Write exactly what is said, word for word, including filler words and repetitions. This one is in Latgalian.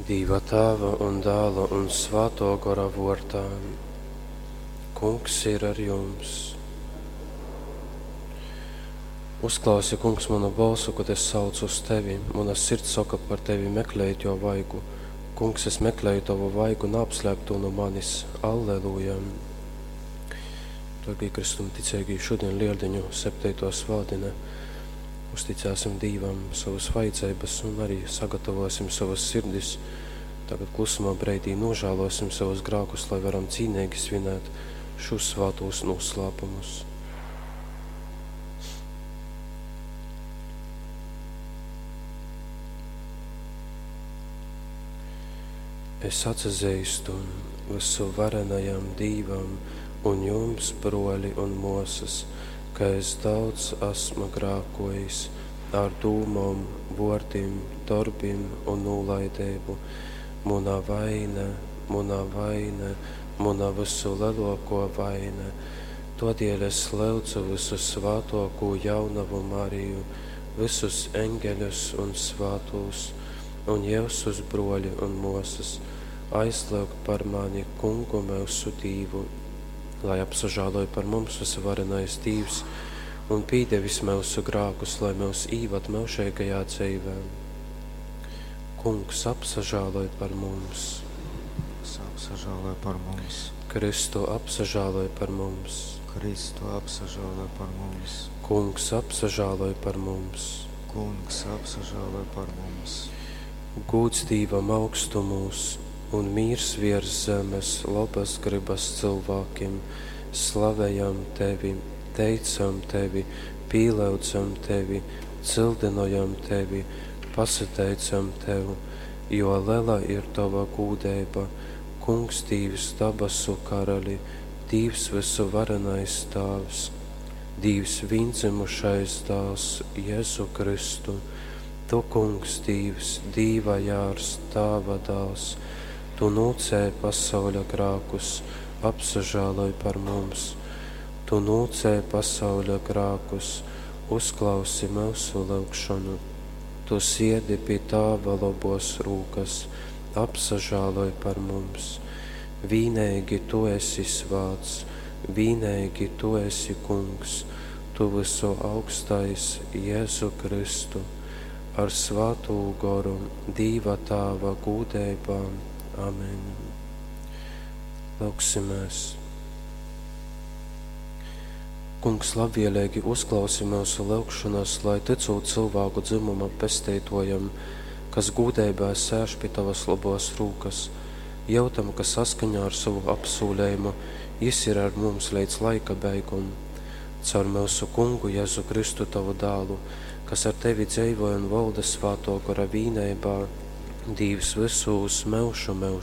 Dīva Tāva un Dāla un Svātō Gora vōrdā. Kungs ir ar jums. Uzklausi, Kungs, manu balsu, kad es saucu uz tevi. Muna sirds soka par tevi meklējit jo vaigu. Kungs, es meklēju tavu vaigu, neapslēp to no manis. Alleluja. Dārgie Kristum ticeigī, šodien Lieldiņu septeito svātdine. Uzticēsim Dīvam savas vajadzības un arī sagatavosim savas sirdis. Tagad klusumā breidī nožēlosim savus grēkus, lai varam cīnīgi svinēt šos svātos noslēpumus. Es atzīstu visu varenajam Dīvam un jums, broļi un mosas, ka es daudz esmu grākojis ar dūmom, vārdiem, darbiem un nolaidību. Muna vaina, muna vaina, muna visu lielāko vaina. Todēļ es lūdzu visu svātoko jaunavu Mariju, visus eņģeļus un svātos, un jēzus broļi un mosas, aizlūgt par mani kungu mūsu Dīvu, lai apsažāloj par mums visuvarenais Dīvs un pīdevis mūsu grākus, lai mūs īvad mūžīgajā dzīvē. Kungs apsažāloj par mums. Kungs apsažāloj par mums. Kristu apsažāloj par mums. Kristu apsažāloj par mums. Kungs apsažāloj par mums. Kungs apsažāloj par mums. Gūds Dīvam augstumūs un mīrs virs zemes labas gribas cilvēkiem. Slavējam tevi, teicam tevi, pīlaudzam tevi, cildinojam tevi, pasateicam tev, jo liela ir tava gūdeiba, Kungs Dīvs dabasu karali, Dīvs visu varenais Tāvs, Dīvs vīndzimušais dāls Jēzu Kristu, Tu, Kungs Dīvs, Dīva jārs, Tāva dāls, Tu nūcēji pasauļa grākus, apsažāloj par mums. Tu nūcēji pasauļa grākus, uzklausi mūsu lūgšanu. Tu siedi pie Tāva labos rūkas, apsažāloj par mums. Vīnīgi Tu esi svāts, vīnīgi Tu esi Kungs, Tu visu augstais Jēzu Kristu, ar svātū goru, Dīva Tāva gūdeibā. Amen. Lūksimies. Kungs labvēlīgi uzklausi mūsu lūgšanas, lai ticot cilvēku dzimuma pestītojam, kas gūdeibā sēž pie tavas labos rūkas, jūtam, ka saskaņā ar savu apsūlējumu jis ir ar mums līdz laika beigum. Caur mūsu kungu Jēzu Kristu tavu dālu, kas ar tevi dzīvoja un valda svāto gara vīneibā, Dīvs visus mūžu mūžos.